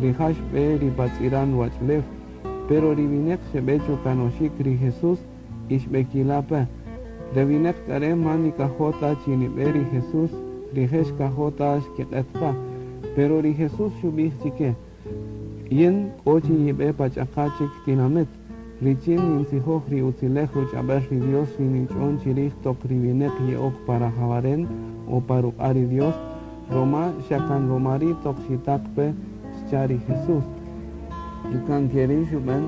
Rija' xb'e ri pa tz'iran ruwach'ulew. Pero ri wineq xeb'e chukanoxik ri Jesús y xb'ekila' pe. Re wineq k'a re' man nikajo' ta chi nib'e ri Jesús, rije' xkajo' ta xkiq'et qa. Pero ri Jesús xub'ij chike, Yin k'o chi yib'e pa ch'aqa' chik tinamit, richin nintzijoj ri utzilej ruch'ab'el ri Dios ri nich'on chirij toq ri wineq ye'ok pa rajawaren o pa ruq'a' ri Dios, roma xa kan roma ri' toq xitaq pe, xcha' ri Jesús. Y kan keri' xub'en,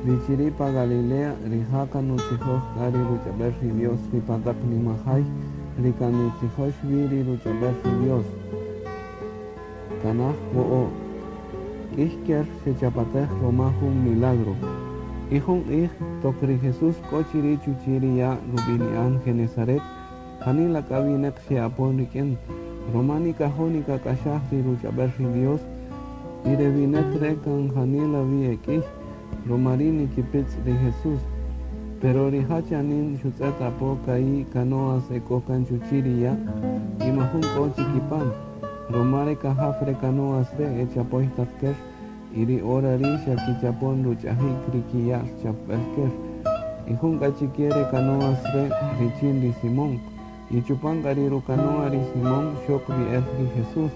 ri chiri' pa Galilea, rija' kan nutzijoj k'a ri ruch'ab'el ri Dios ri pa taq nimajay ri kan nitzijox wi ri ruch'ab'el ri Dios. Tanaj wo'o'. K'ïy ker xechapatej roma jun milagro. Y jun q'ij, toq ri Jesús k'o chiri' chuchi' ri ya' rub'ini'an Genesaret, janila k'a wineq xe'apon rik'in, roma nikajo' nikak'axaj ri ruch'ab'el ri Dios, y re wineq re' kan janila wi e k'ïy, roma ri' nikipitz' ri Jesús. Pero rija' chanin xutz'et apo ka'i' canoas e k'o kan chuchi' ri ya' y majun k'o chikipan, roma re kajaw re canoas re' e chapoy taq ker, y ri hora ri' xa kichapon ruch'ajik ri kiya'l chapb'el ker. Y jun k'a chike re canoas re' richin ri Simón. Y chupan k'a ri rukanoa ri Simón xok wi el ri Jesús.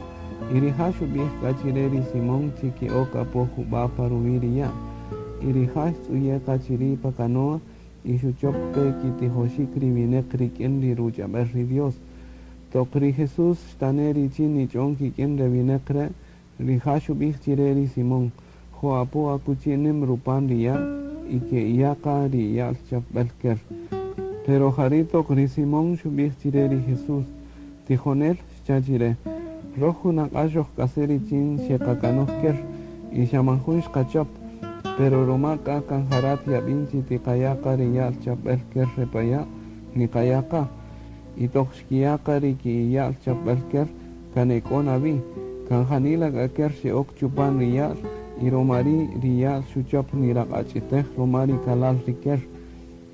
Y rija' xub'ij k'a chire ri Simón chi ke'ok apo jub'a' pa ruwi' ri ya'. Y rija' xtz'uye' qa chiri' pa canoa y xuchop pe kitijoxik ri wineq rik'in ri ruch'ab'el ri Dios. Toq ri Jesús xtane' richin nich'on kik'in re wineq re', rija' xub'ij chire ri Simón, Jo' apo akuchi nim rupan ri ya' y ke'iya' qa ri ya'l chapb'el ker. Pero jari' toq ri Simón xub'ij chire ri Jesús, Tijonel, xcha' chire, roj junaq'a' xojk'ase' richin xeqakanoj ker y xa man jun xqachop, pero roma k'a kan ja rat yab'in chi tiqaya' qa ri ya'l chapb'el ker re pa ya', niqaya' qa. Y toq xkiya' qa ri kiya'l chapb'el ker, kan e k'o na wi, kan janila k'a ker xe'ok chupan ri ya'l, y roma ri' ri ya'l xuchop niraq'ach'itej roma ri kalal ri ker.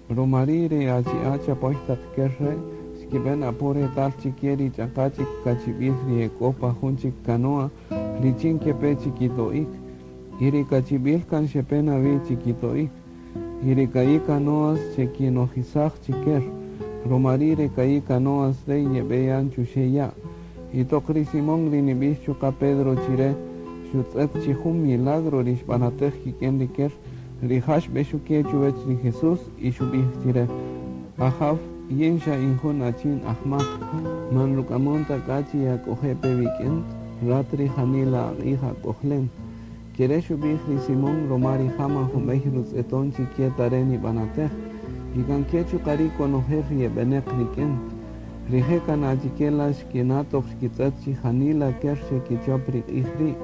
Roma ri' ri achi'a' chapoy taq ker re' xkib'en apo retal chike ri ch'aqa' chik kachib'il ri e k'o pa jun chik canoa richin kepe chikito'ik. Y ri kachib'il kan xepe na wi chikito'ik. Y ri ka'i' canoas xekinojisaj chi ker. Roma ri' re ka'i' canoas re' yeb'eyan chuxe' ya'. Y toq ri Simón ri nib'ix chuqa' Pedro chire, xutz'et chi jun milagro ri xb'anatej kik'in ri ker, rija' xb'exuke' chuwech ri Jesús y xub'ij chire, Ajaw, yin xa in jun achin ajmak, man ruk'amon ta k'a chi yak'oje' pe wik'in, rat ri janila aq'ij ak'ojlen. Kere' xub'ij ri Simón roma rija' man jun b'ey rutz'eton chi ke ta re' nib'anatej, y kan ke chuqa' ri' konojel ri eb'eneq rik'in. Rije' kan achike la xkina' toq xkitz'et chi janila ker xekichop ri q'ij ri'.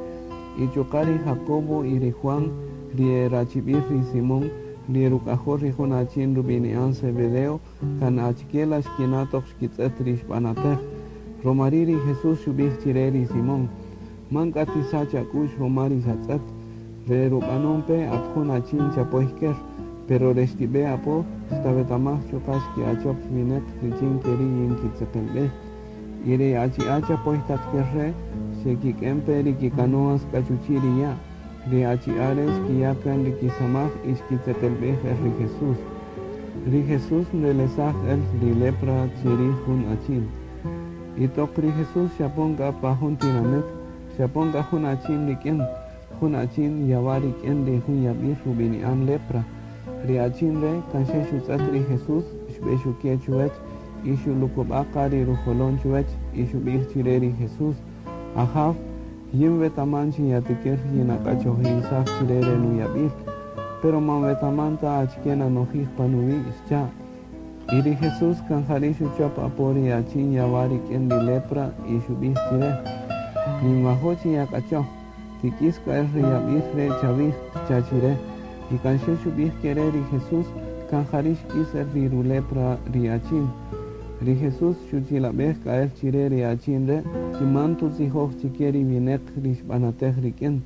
Y chuqa' ri Jacobo y ri Juan, ri e rachib'il ri Simón, ri e ruk'ajol ri jun achin rub'ini'an Zebedeo, kan achike la xkina' toq xkitz'et ri xb'anatej. Roma ri' ri Jesús xub'ij chire ri Simón, Man k'a tisach ak'u'x roma ri xatz'et, re rub'anon pe at jun achin chapoy ker, pero re xtib'e apo, xtawetamaj chuqa' xke'achop wineq richin keri' yin kitzeqelb'ej. Y ri achi'a' chapoy taq ker re' xekik'en pe ri kicanoas k'a chuchi' ri ya'. Ri achi'a' re' xkiya' kan ri kisamaj y xkitzeqelb'ej el ri Jesús. Ri Jesús nrelesaj el ri lepra chirij jun achin. Y toq ri Jesús xapon k'a pa jun tinamit, xapon k'a jun achin rik'in, jun achin yawa' rik'in ri jun yab'il rub'ini'an lepra. Ri achin re' kan xe xutz'et ri Jesús, xb'exuke' chuwech y xulukub'a' qa ri rujolon chuwech y xub'ij chire ri Jesús, Ajaw, yin wetaman chi yatikir yinak'achojrisaj chire re nuyab'il, pero man wetaman ta achike nanojij pa nuwi', xcha'. Y ri Jesús kan jari' xuchop apo ri achin yawa' rik'in ri lepra y xub'ij chire, Ninwajo' chi yak'achoj, tik'is k'a el ri yab'il re' chawij, xcha' chire. Y kan xe xub'ij kere' ri Jesús, kan jari' xk'is el ri rulepra ri achin. Ri Jesús xuchilab'ej k'a el chire ri achin re' chi man tutzijoj chike ri wineq ri xb'anatej rik'in.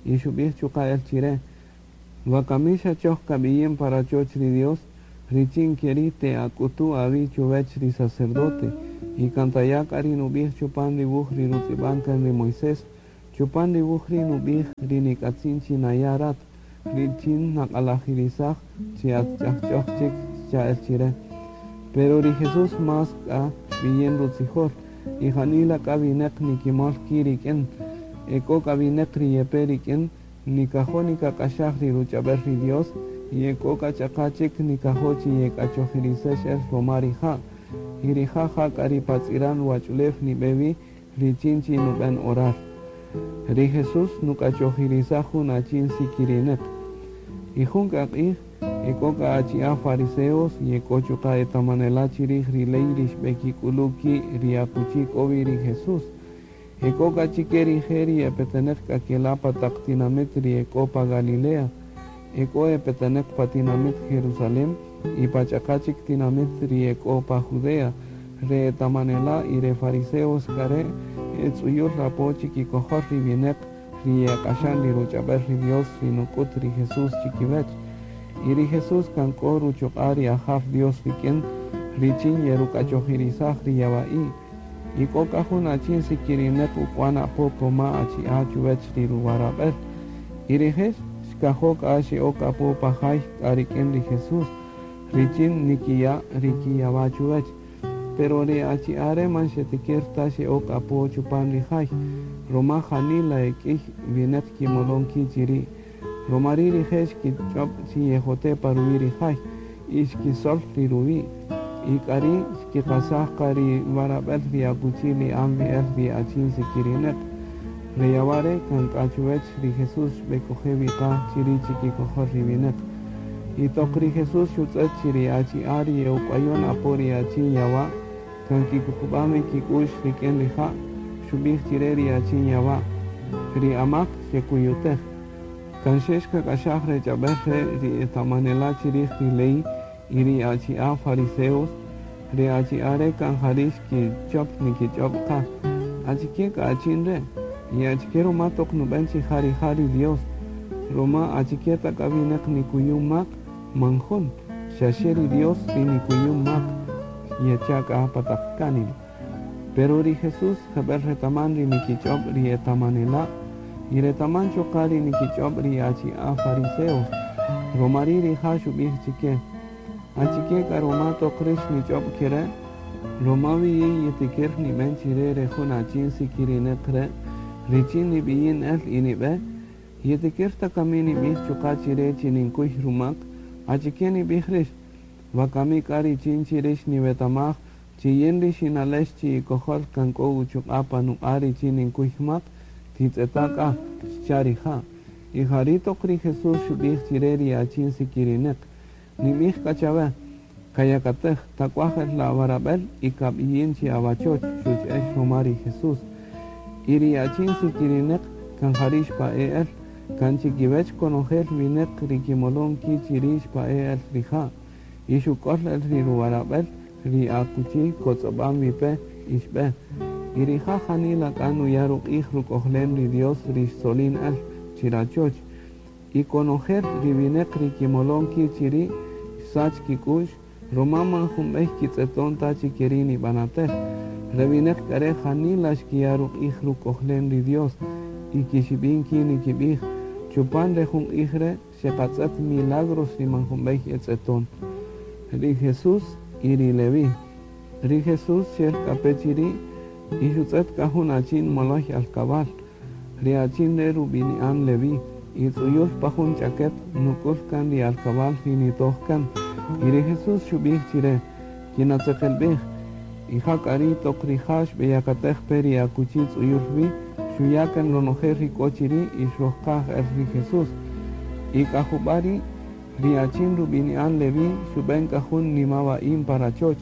Y xub'ij chuqa' el chire, Wakami xa choj kab'iyin pa rachoch ri Dios, richin keri' te'ak'utu' awi' chuwech ri sacerdote, y kan taya' k'a ri nub'ij chupan ri wuj ri rutz'ib'an kan ri Moisés, Chupan ri wuj ri' nub'ij ri nik'atzin chi naya' rat, richin naq'alajirisaj chi at ch'ajch'oj chik xcha' el chire. Pero ri Jesús más k'a xb'iyin rutzijol, y janila k'a wineq nikimol ki' rik'in, e k'o k'a wineq ri yepe rik'in, nikajo' nikak'axaj ri ruch'ab'el ri Dios, y e k'o k'a ch'aqa chik nikajo' chi yek'achojirisex el roma rija', y rija' ja k'a ri pa tz'iran ruwach'ulew nib'e wi richin chi nub'en orar. Ri Jesús nuk'achojirisaj jun achin sikirineq. Y jun k'a q'ij, e k'o k'a achi'a' fariseos y e k'o chuqa' etamanela' chirij ri ley ri xb'ekik'ulu' ki' ri akuchi k'o wi ri Jesús. E k'o k'a chike rije' ri e peteneq k'a kela' pa taq tinamit ri e k'o pa Galilea, e k'o e peteneq pa tinamit Jerusalén y pa ch'aqa chik tinamit ri e k'o pa Judea, re etamanela' y re fariseos k'a re' e tz'uyul apo chikikojol ri wineq ri yeq'axan ri ruch'ab'el ri Dios ri nuk'ut ri Jesús chikiwech. Y ri Jesús kan k'o ruchuq'a' ri Ajaw Dios rik'in richin yeruk'achojirisaj ri yawa'i'. Y k'o k'a jun achin sikirineq uk'wan apo koma achi'a' chuwech ri ruwarab'el. Y rije' xkajo' k'a xe'ok apo pa jay k'a rik'in ri Jesús, richin nikiya' ri kiyawa' chuwech. Pero ri achi'a' re' man xetikir ta xe'ok apo chupan ri jay, roma janila e k'iy wineq kimolon ki' chiri'. Roma ri' rije' xkich'ob' chi yejote' pa ruwi' ri jay, y xkisol ri ruwi'. Y k'ari' xkiqasaj qa ri warab'el ri akuchi li'an wi el ri achin sikirineq. Re yawa' re' kan k'a chuwech ri Jesús xb'ek'oje' wi qa chiri' chikikojol ri wineq. Y toq ri Jesús xutz'ët chi ri achi'a' ri ye'uk'wayon apo ri achin yawa' kan kikuqub'an wi kik'u'x rik'in rija', xub'ij chire ri achin yawa', Ri amaq xekuyutej. Kan xe xkak'axaj re ch'ab'el re' ri etamanela' chirij ri ley y ri achi'a' fariseos, re achi'a' re' kan jari' xkichop nikich'ob' qa, Achike k'a achin re'? Y achike ruma toq nub'en chi ja rija' ri Dios? Ruma achike ta k'a wineq nikuyun mak? Man jun, xa xe ri Dios ri nikuyun mak, yecha' k'a pa taq kánima. Pero ri Jesús jeb'el retaman ri nikich'ob' ri etamanela' y retaman chuqa' ri nikich'ob' ri achi'a' fariseos. Roma ri' rija' xub'ij chike, Achike k'a ruma toq rix nich'ob' kere'? Ruma wi yin yitikir nib'en chire re jun achin sikirineq re' richin nib'iyin el y nib'e, yitikir ta kami nib'ij chuqa' chire chi ninkuy rumak? Achike nib'ij rix? Wakami k'a richin chi rix niwetamaj chi yin ri xinalex chi'ikojol kan k'o uchuq'a' pa nuq'a' richin ninkuy mak, titz'eta' k'a, xcha' rija'. Y jari' toq ri Jesús xub'ij chire ri achin sikirineq, Nib'ij k'a chawe, Kayakatej, tak'waj el la awarab'el y kab'iyin chi awachoch, xuch'ex ruma ri Jesús. Y ri achin sikirineq kan jari' xpa'e' el, kan chikiwech konojel wineq ri kimolon ki' chiri' xpa'e' el rija', y xuk'ol el ri ruwarab'el ri akuchi kotz'ob'an wi pe y xb'e. Y rija' janila k'a nuya' ruq'ij ruk'ojlen ri Dios ri xtzolin el chirachoch. Y konojel ri wineq ri kimolon ki' chiri' xsach kik'u'x, roma man jun b'ey kitz'eton ta chi keri' nib'anatej. Re wineq k'a re' janila xkiya' ruq'ij ruk'ojlen ri Dios, y kixib'in ki' nikib'ij, Chupan re jun q'ij re' xeqatz'et milagros ri man jun b'ey e tz'eton. Ri Jesús y ri Leví. Ri Jesús xel k'a pe chiri' y xutz'et k'a jun achin moloy alkabal. Ri achin re' rub'ini'an Leví, y tz'uyul pa jun ch'aket nuk'ul kan ri alkabal ri nitoj kan. Y ri Jesús xub'ij chire, Kinatzeqelb'ej. Y ja k'a ri' toq rija' xb'eyakatej pe ri akuchi tz'uyul wi, xuya' kan ronojel ri k'o chiri' y xrojqaj el ri Jesús. Y k'a jub'a' ri', ri achin rub'ini'an Leví xub'en k'a jun nimawa'in pa rachoch,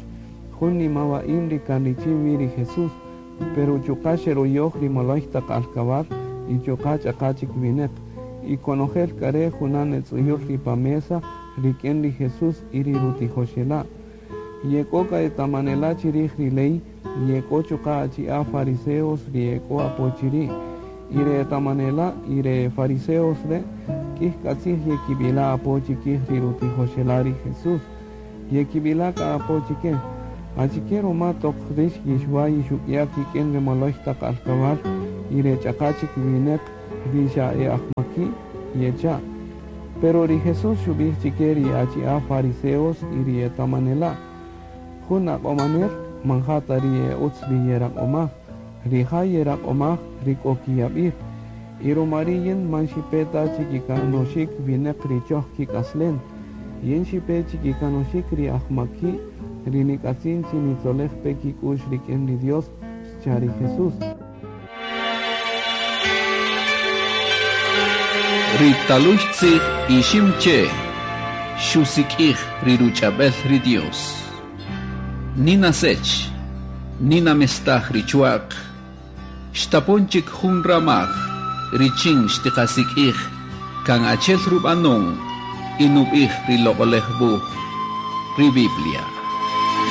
jun nimawa'in ri kan richin wi ri Jesús. Pero chuqa' xeroyoj ri moloy taq alkabal y chuqa' ch'aqa' chik wineq. Y konojel k'a re' junan e tz'uyul ri pa mesa rik'in ri Jesús y ri rutijoxela'. Y ek'o k'a etamanela' chirij ri ley y ek'o chuqa' achi'a' fariseos ri ek'o apo chiri'. Y re etamanela' y re fariseos re' k'ij k'a tzij yekib'ila' apo chikij ri rutijoxela' ri Jesús. Yekib'ila' k'a apo chike, Achike ruma toq rix yixwa' yixuk'ya' kik'in ri moloy taq alkabal Y re ch'aqa' chik wineq ri xa e ajmaki'? Yecha'. Pero ri Jesús xub'ij chike ri achi'a' fariseos y ri etamanela': Jun aq'omanel man ja ta ri e utz ri yeraq'omaj, rija' yeraq'omaj ri k'o kiyab'il. Y ruma ri' yin man xipe ta chikikanoxik wineq ri choj kik'aslen, yin xipe chikikanoxik ri ajmaki' ri nik'atzin chi nitzolej pe kik'u'x rik'in ri Dios, xcha' ri Jesús. Ri talüy tzij Iximche' xusik'ij ri ruch'ab'äl ri Dios. Nina Sech, Nina mestaj ri chwa'q, xtapon chik jun ramaj richin xtiqasik'ij kan achi'el rub'anon y nub'ij ri Loq'oläj Wuj, ri Biblia.